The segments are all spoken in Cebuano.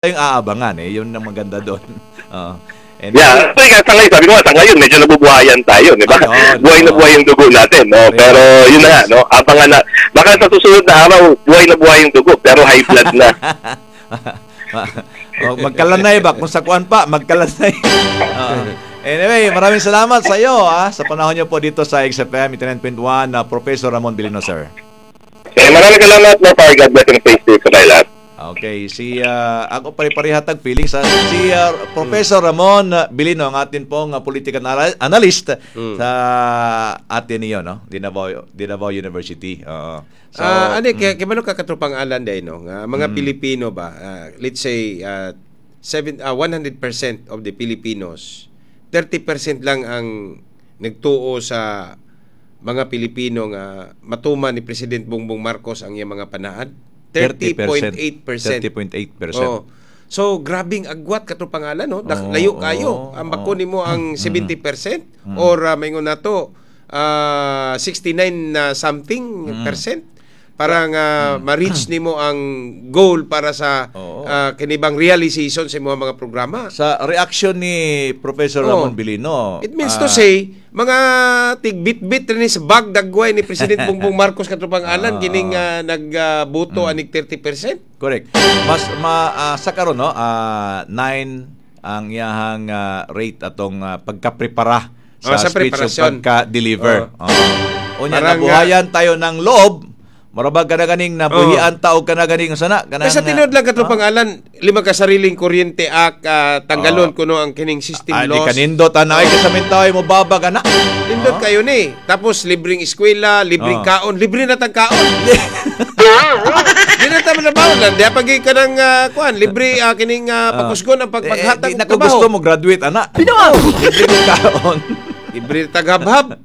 Tayong aabangan eh. Yun ang maganda doon. Oo. And Yeah, so, nga, sa ngayon, sabi ko nga, sa ngayon, medyo nabubuhayan tayo, di ba? Ayun, Buhay na buhay yung dugo natin, no? Pero yun na nga, no? Abangan na. Baka sa susunod na araw, buhay na buhay yung dugo, pero high blood na. Oh, magkalanay ba? Kung sa kuan pa, magkalanay. Oo. Anyway, maraming salamat sa iyo sa panahon niyo po dito sa XFM 89.1 na Professor Ramon Bilino, sir. Eh, maraming salamat, no? Power. God bless and stay safe sa tayo lahat. Okay, si ako pare-pareha tag feeling sa si Professor Ramon Bilino, ang atin pong political analyst sa Ateneo, no? Davao University. Oo. So, Ah, ano kay kibalo ka, katropang Alan, day, no, nga mga Pilipino ba, let's say seven 100% of the Filipinos, 30% lang ang nagtuo sa mga Pilipino nga matuman ni President Bongbong Marcos ang iyang mga panaad. 30.8%. 30.8%. Oh. So grabing agwat, katropang Alan, no? Layo kayo. Ang bako nimo ang 70% or maingon nato 69 na something percent para nga ma-reach nimo ang goal para sa kinibang realization sa imong mga programa. Sa reaction ni Professor Ramon Bilino, It means to say, mga tigbit-bit rin sa bag dagway ni President Bongbong Marcos, katropang Alan, kining nagboto anig 30%. Correct. Mas ma sa karon, no, 9 ang iyahang rate atong pagka-prepara sa Oh, sa speech ug preparasyon. pagka-deliver. Oo. Unya Parang, nabuhayan tayo ng loob. Murabag ka na ganing nabuhian ta og kana ganing sana kanang Kaya sa tinuod lang, katropang Alan, lima ka sariling kuryente ak tanggalon kuno ang kining system Ah, di loss. kanindot ana ay kasamin tayo mo babag ana. Nindot kayo ni. Tapos libreng eskwela, libreng kaon, libre na tag kaon. Di na ta trabaho lang. Di pag ka ng kuan, libre kining pagkusgon ang pagpaghatag Eh, di og na ko trabaho. gusto mo graduate ana. Libre kong kaon. Libre taghabhab.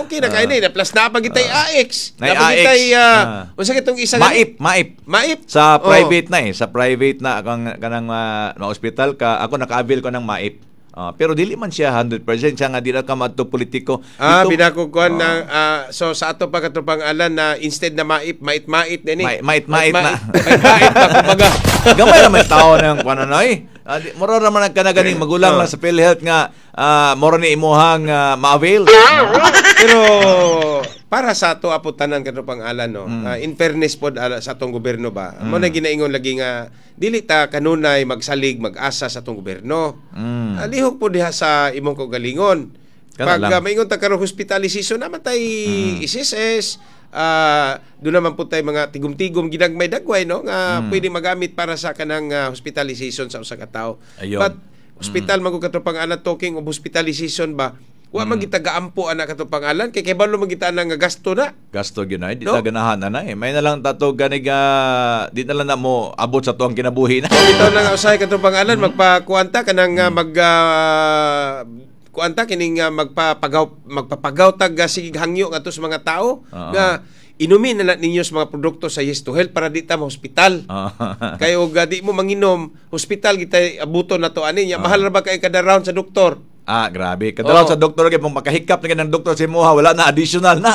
Okay na kayo ni. Plus naa pa gitay AX. Nay Naa pa gitay AX. Unsa kitong isa? Maip, maip. Maip. Sa private na eh, sa private na kang kanang ma-hospital ka, ako naka-avail ko ng MAIP. Ah, pero dili man siya 100% siya nga di na ka madto politiko. Ah, binako kuan na so sa ato pa, katropang Alan, na instead na maip, mait-mait din eh. Mait-mait na. Mait-mait na kumbaga. Gamay naman tao ng kuan na eh. Ah, mura raman ang kanaganing magulang lang sa PhilHealth nga mura ni imuhang ma-avail. Pero para sa ato apo tanan, katropang Alan, no. In fairness pod ala, sa atong gobyerno ba. Mo na ginaingon lagi nga dili ta kanunay magsalig mag-asa sa atong gobyerno. Lihok po diha sa imong kaugalingon. Kana Pag lang. Maingon ta karon hospitalization naman tay SSS, doon naman po tayo mga tigom-tigom ginagmay dagway, no, nga pwede magamit para sa kanang hospitalization sa usa ka tawo. Ayun. But hospital man gud, katropang Alan, talking of hospitalization ba, wa man kita gaampo ana, katropang Alan, kay kabalo man kita nga gasto na. Gasto gyud ay di No? ta ganahan na eh. May na lang tato ganig di na lang na mo abot sa tuang kinabuhi na. Bitaw na nga usahay, katropang Alan, magpakuanta kanang mag kuanta kining magpapagaw magpapagaw tag sige hangyo ngadto sa mga tao nga inumin na lang ninyo sa mga produkto sa Yes to Health para di ta ma-hospital. Kay og di mo manginom, hospital kita abuton na to ani nya. Mahal ra ba kay kada round sa doktor? Ah, grabe. Kadalaw sa doktor kay pong makahikap na ng doktor si Moha, wala na, additional na.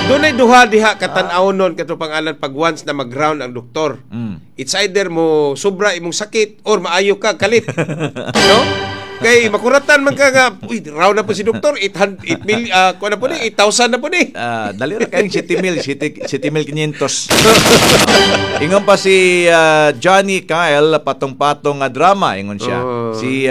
Dunay duha diha katan-aw nun, katropang Alan, pag once na mag-round ang doktor. It's either mo sobra imong sakit or maayo ka kalit. No? Kay makuratan man ka nga, uy, round na po si doktor, 800 8 mil, kuha na po ni, 8,000 na po ni. Ah, dali ra kayong 7 mil, 7 mil 500. Ingon pa si Johnny Kyle, patong-patong nga drama, ingon siya. Si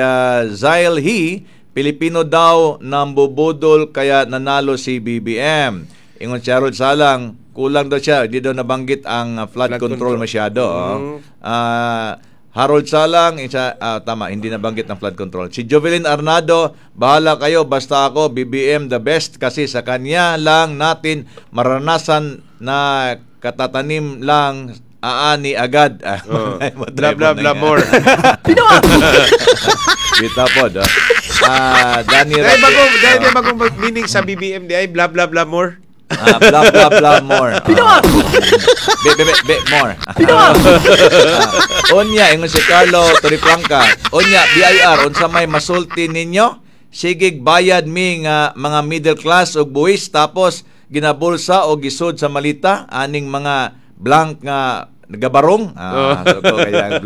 Zyle He, Pilipino daw nambubudol kaya nanalo si BBM. Ingon si Harold Salang, kulang daw siya, hindi daw nabanggit ang flood, Flood control, control. Masyado. Oh. Harold Salang, isa, tama, hindi nabanggit ang flood control. Si Jovelyn Arnado, bahala kayo, basta ako, BBM the best kasi sa kanya lang natin maranasan na katatanim lang aani agad. Ah, Oh. Blah, blah, blah, more. Kita po, do. Ah, Danny Dahil bagong, dahil dahil bagong meaning sa BBM di ay blah, blah, blah, more. Ah, blah blah blah more. Ah. Be be be, be more. Ah, unya ingon si Carlo Torifranca. Unya BIR unsa may masulti ninyo? Sigig bayad mi nga mga middle class og buwis tapos ginabulsa o gisud sa malita aning mga blank nga Nagabarong. Ah, so ko kaya